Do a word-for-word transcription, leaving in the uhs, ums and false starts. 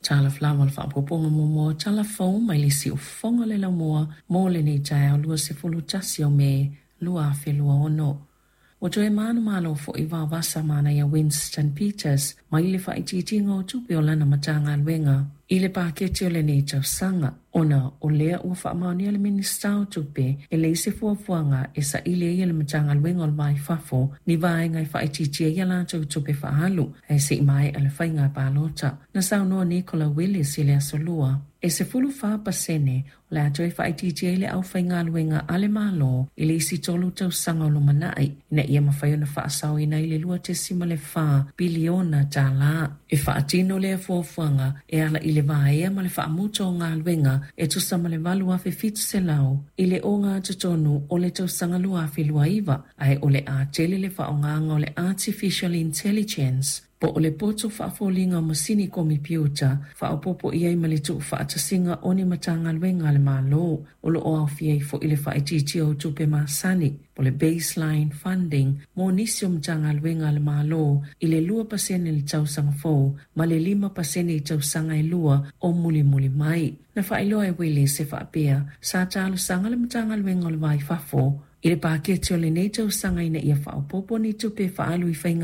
Talofa lava le faaopoopoga muamua o tala fou mai le siufofoga o le laumua mo lenei taeao luasefulu tasi o Me lua afe lua ono. Ua toe manumalo foi Vaovasa Manaia Winston Peters mai le faaitiitiga o tupe o lana Matagaluega i le paketi o lenei tausaga, ona o lea ua faamaonia le Minisita o Tupe e leai se fuafuaga e saili ai e le Matagaluega o le Va i Fafo ni vaega e faaitiitia ai a latou tupe faaalu ae se i maea le faiga palota. Na saunoa Nicola Willis i le aso Lua, e sefulu fa pasene o le a toe faaitiitia ai le aufaigaluega a le Malo i le isi tolu tausaga o lumanai, ina ia mafai ona faasaoina ai le lua tesima le fa piliona tālā. E faatino lea fuafuaga e ala i le vaea ma le faamuta o galuega e tusa ma le valu afe fitu selau i le ogatotonu o le tausaga lua afe lua iva, ae o le a tele le faaaogaina o le artificial intelligence po o le poto faafoliga o masini komepiuta faaopoopo i ai ma le tuufaatasiga o ni Matagaluega a le Malo. O lo o aofia ai foi le faaitiitia o tupe masani po le baseline funding mo nisi o Matagaluega a le Malo i le lua pasene i le tausaga fou ma le lima pasene i tausaga e lua o mulimuli mai. Na faailoa e Willis e faapea sa talosaga le Matagaluega o le Va i Fafo i le paketi o lenei tausaga ina ia faaopoopo ni tupe faaalu i faiga